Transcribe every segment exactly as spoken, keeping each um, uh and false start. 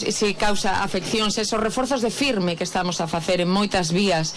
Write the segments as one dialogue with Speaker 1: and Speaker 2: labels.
Speaker 1: Se causa afeccións, esos reforzos de firme que estamos a facer en moitas vías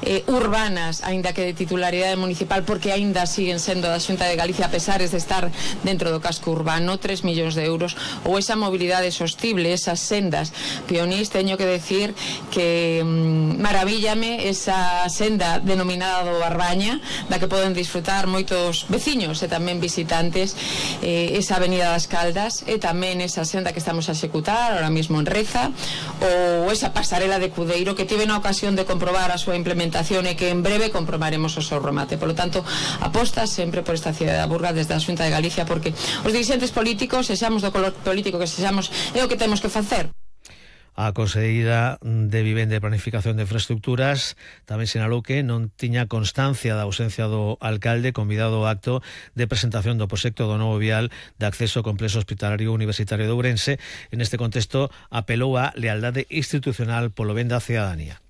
Speaker 1: eh, urbanas, aínda que de titularidade municipal, porque aínda siguen sendo da Xunta de Galicia a pesares de estar dentro do casco urbano, tres millóns de euros, ou esa mobilidade sostible, esas sendas pionís. Teño que decir que mmm, maravíllame esa senda denominada do Barbaña, da que poden disfrutar moitos veciños e tamén visitantes, eh, esa avenida das Caldas, e tamén esa senda que estamos a executar ahora mismo en Reza, ou esa pasarela de Cudeiro que tive na ocasión de comprobar a súa implementación e que en breve comprobaremos o seu remate. Por lo tanto, aposta sempre por esta cidade da Burga desde a Xunta de Galicia, porque os dirigentes políticos, sexamos do color político que sexamos, é o que temos que facer.
Speaker 2: A Conselleira de Vivenda e Planificación de Infraestructuras tamén sinalou que non tiña constancia da ausencia do alcalde convidado ao acto de presentación do proxecto do novo vial de acceso ao complexo hospitalario universitario de Ourense. En este contexto apelou á lealdade institucional polo ben da cidadanía.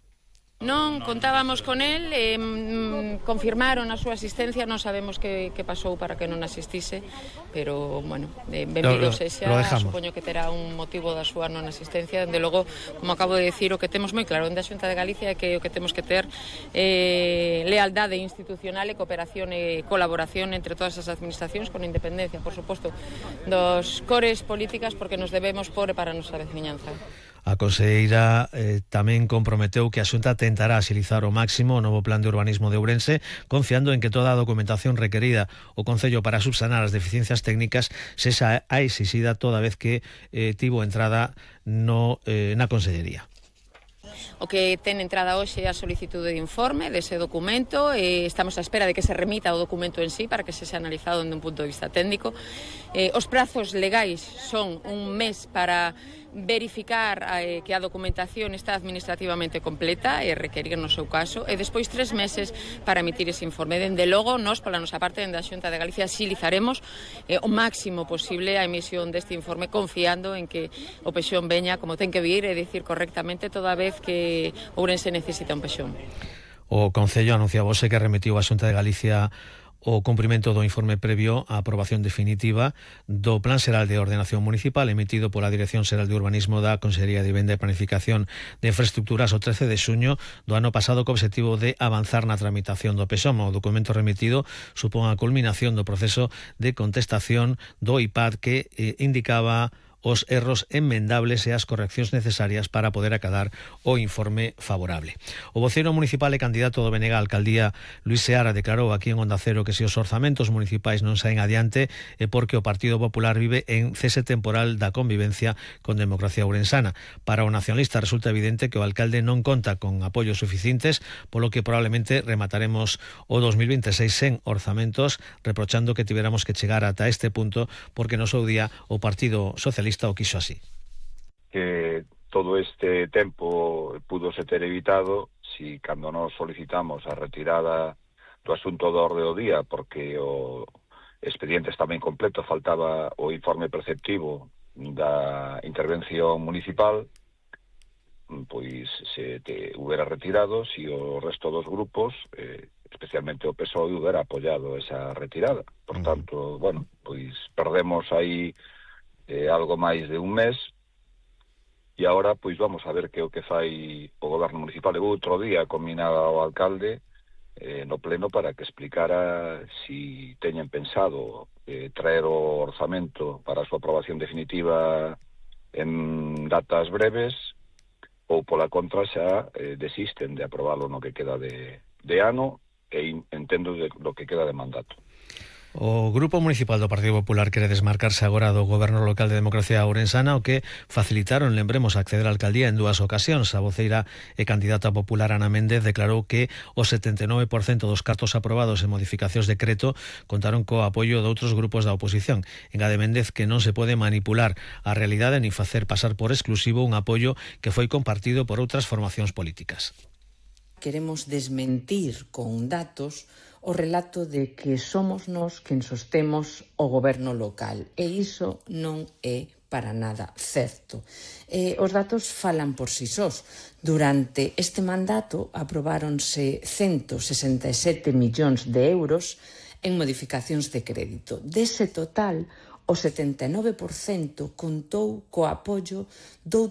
Speaker 1: Non contábamos con el, eh, confirmaron a súa asistencia, non sabemos que, que pasou para que non asistise, pero, bueno, eh, benvido sexa, supoño que terá un motivo da súa non asistencia. Dende logo, como acabo de decir, o que temos moi claro en da Xunta de Galicia é que o que temos que ter eh, lealdade institucional e cooperación e colaboración entre todas as administracións, con independencia, por suposto, dos cores políticas, porque nos debemos por para a nosa veciñanza.
Speaker 2: A conselleira eh, tamén comprometeu que a Xunta tentará axilizar ao máximo o novo plan de urbanismo de Ourense, confiando en que toda a documentación requerida o Concello para subsanar as deficiencias técnicas sexa a exixida toda vez que eh, tivo entrada no, eh, na Consellería.
Speaker 1: O que ten entrada hoxe é a solicitude de informe dese documento, e estamos á espera de que se remita o documento en sí para que se sea analizado dende un punto de vista técnico. Eh, os prazos legais son un mes para verificar eh, que a documentación está administrativamente completa e requerir no seu caso, e despois tres meses para emitir ese informe. Dende logo, nós, pola nosa parte, dende a Xunta de Galicia, xilizaremos eh, o máximo posible a emisión deste informe, confiando en que o pexón veña como ten que vir, e dicir correctamente toda vez que Ourense necesita un pexón.
Speaker 2: O Concello anunciaba hoxe que remitiu a Xunta de Galicia o cumprimento do informe previo á aprobación definitiva do Plan Xeral de Ordenación Municipal emitido pola Dirección Xeral de Urbanismo da Consellería de Vivenda e Planificación de Infraestructuras o trece de xuño do ano pasado, co obxectivo de avanzar na tramitación do PEXOM. O documento remitido supón a culminación do proceso de contestación do I P A D que eh, indicaba os erros enmendables e as correccións necesarias para poder acadar o informe favorable. O voceiro municipal e candidato do B N G á alcaldía, Luis Seara, declarou aquí en Onda Cero que se os orzamentos municipais non saen adiante é porque o Partido Popular vive en cese temporal da convivencia con democracia ourensana. Para o nacionalista resulta evidente que o alcalde non conta con apoios suficientes, polo que probablemente remataremos o dos mil veintiséis sen orzamentos, reprochando que tiveramos que chegar ata este punto porque no seu día o Partido Socialista o quiso así.
Speaker 3: Que todo este tempo pudo se ter evitado si cando nos solicitamos a retirada do asunto do orde do día, porque o expediente estaba incompleto, faltaba o informe preceptivo da intervención municipal, pois se te hubiera retirado si o resto dos grupos, eh, especialmente o P S O E, hubiera apoiado esa retirada. Por tanto, bueno, pois perdemos aí Eh, algo máis de un mes, e agora pois vamos a ver que o que fai o goberno municipal. Eu outro día combinaba ao alcalde eh, no pleno para que explicara si teñen pensado eh, traer o orzamento para a súa aprobación definitiva en datas breves, ou pola contra xa eh, desisten de aprobalo no que queda de, de ano, e entendo de, lo que queda de mandato.
Speaker 2: O Grupo Municipal do Partido Popular quere desmarcarse agora do Goberno Local de Democracia Ourensana, o que facilitaron, lembremos, acceder á alcaldía en dúas ocasións. A voceira e candidata popular Ana Méndez declarou que o setenta e nove por cento dos cartos aprobados en modificacións de decreto contaron co apoio de outros grupos da oposición. Engade Méndez que non se pode manipular a realidade ni facer pasar por exclusivo un apoio que foi compartido por outras formacións políticas.
Speaker 4: Queremos desmentir con datos o relato de que somos nós quen sostemos o goberno local, e iso non é para nada certo. Eh, os datos falan por si sós. Durante este mandato aprobáronse ciento sesenta e sete millóns de euros en modificacións de crédito. Dese total, o setenta e nove por cento contou co apoio doutros